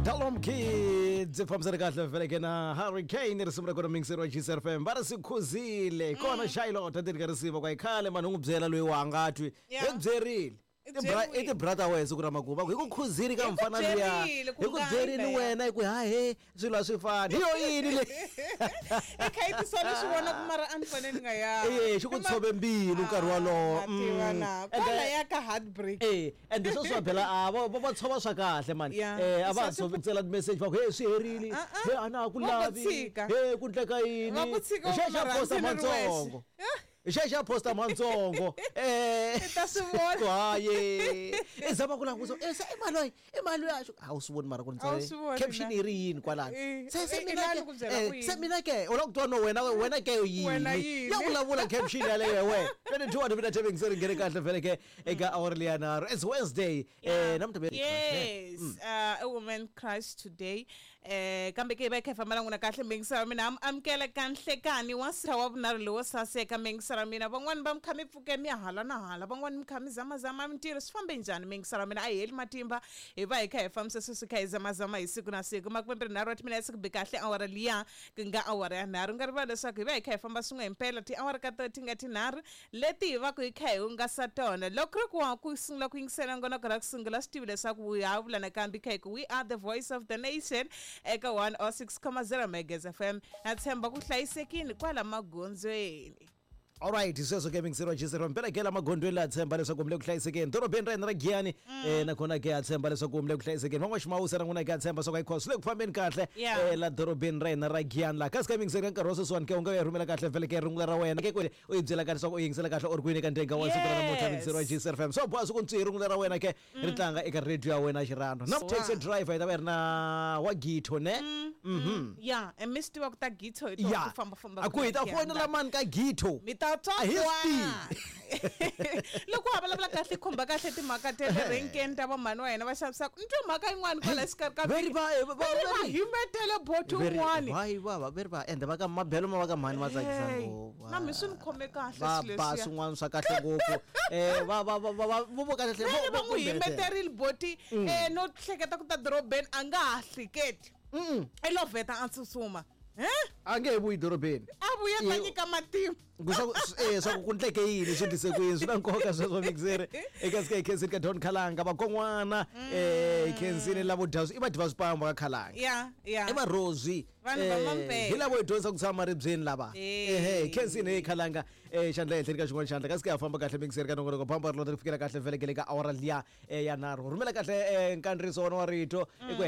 Dalom Kids fambisana kahle vele na Hurricane risimu ra kona mixer wa GCR FM va ri swi khuzile kona Charlotte a ti ri ka risimu kwa khale mani u n'wi byela loyi wa nga twi hi ku byerile I i ti-bra ta wena siku ra makumu va ku hi ku khuzile ka Hi ku mfana luya byerile ku hi ku nga byerile yimbelela. wena hi ku hahe swilo a swi fani hi yo yini leyi I kha yi tisola swi vona ku mara a ni fanele ni nga ya Eh, xi ku tshove mbilu nkarhi wolowo. Mm. And Kwala ya ka heartbreak. Eh, and sweswi phela a va va tshova swa kahle mani. Yeah. Eh, a va ha Swa tshovi tsela message va ku hey swi herile. Ah, ah. Hey a na ha ku Va ku lavi. tshika. Hey ku ndleka yini? Va ku tshika u Hi xa nga xa posta rhandzi ni ri wexe. matsongo. Hi xa xa posta matsongo. Eh. I ta swi vona. Ku haye. I zama ku langusa. Eh, se i mali loyi, i mali loyi a xi- A wu swi voni mara ku ni A wu tsale. swi voni Caption na. yi ri yini kwalano. Eh, Se se eh, mina i ke. lani ku byela eh, ku yini? Se mina ke. U lava ku twa no wena wena ke Wena yini? yini? Ya vulavula caption yaleyo we. 22 wa timina tsheveni se ri nghene kahle vele ke eka awara leya nharhu. It's Wednesday. Eh namuntlha Yes, a woman crush today. Eh, kambe ke hi va hi kha hi famba na n'wina kahle mingisela mina amukela ka nhlekani wa siha wa vunharhu lowo saseka mingisela mina van'wani va mi kha mi pfuke mi ya hala na hala van'wani mi kha mi zamazama mintirho swi fambe njhani mingisela mina a hi heli matimba hi va hi kha hi fambisa sweswi kha hi zamazama hi siku na siku 23 wa timinetse ku bi kahle awara liya ku nga awara ya nharhu nga rivala leswaku hi va hi kha hi famba swin'we himpela tiawara ka to ti nga tinharhu leti hi va ku hi kha hi hungasa tona loko ri ku wa ku sungula ku yingisela ngonoko ra ku sungula swi tivi leswaku hi ha vula nakambe kha hi ku we are the voice of the nation eka 106.0 megas FM na tshemba ku hlayisekini kwala magondzweni. Alright, sweswo ke mingiseriwa GCR mpela ke la magondweni la tshemba leswaku mi le ku hlayisekeni dorobeni ra hina ra Giyani eh nakona ke ha tshemba leswaku mi le ku hlayisekeni van'waximawusa na n'wina ke ha tshemba swa ku ayikho swi le ku fambeni kahle Yeah. eh la dorobeni ra hina ra Giyani laha kasi ka mingiseri ka nkarhi wa sweswiwani ke u nga ya rhumela kahle vhele ke rungula ra wena ke kwele u yi byela kahle leswaku u yingisela kahle u ri kwini ka ndenga wa siku ra namuntlha Yes. mingiseriwa GCR FM so boha siku ntswi rungula ra wena ke ri tlanga eka radio ya wena xirhandwa na taxi driver yi ta va yi ri na wa githo ne. Ya e mi swi tiva ku ta githo hi to Ya ku fambafamba a ku hi ta fonela mani ka githo mi ta twa A hi swi kwana. Loko wa vulavula kahle khumba kahle timhaka ta le renkeni ta vamhani wa hina va xavisaka ni twe mhaka yin'wana kwala xikarhi ka Veri va- veri va veri- himetele boti un'wani. Hayi va veri va ende va ka mabelo ma va ka mhani ma tsakisa Hey, ngopfu. na mi swi ni khome kahle Va swilo ba leswiya. swin'wana swa kahle ngopfu eh va va va va va vo vo kahle Vele va n'wi himeterile boti no hleketa ku ta dorobeni a nga ha hleketi i lo vheta a tsutsuma e A nge he vuyi dorobeni. A vuya ta Eh, nyika matimba. Ku swa ku- swa ku ku ndleke yini swi tise ku yini swi na nkoka sweswo mixere eka sika hi khensini ka Don Khalanga vakon'wana eh hi khensini lavo dya i vadyi va swipambo ka Khalanga. Ya ya. I varhozwi. Vanhu va mampela. Hi lavo hi dyondzisa ku tshama ribyeni lava. Eh. Ehe khensini hi Khalanga xandla ehenhleni ka xin'wana xandla kasi ka ha famba kahle mixere ka nongonoko pamba ri lota ri fikela kahle vhelekele ka awara liya ya nharhu rhumela kahle nkandziyiso wona wa rito i ku.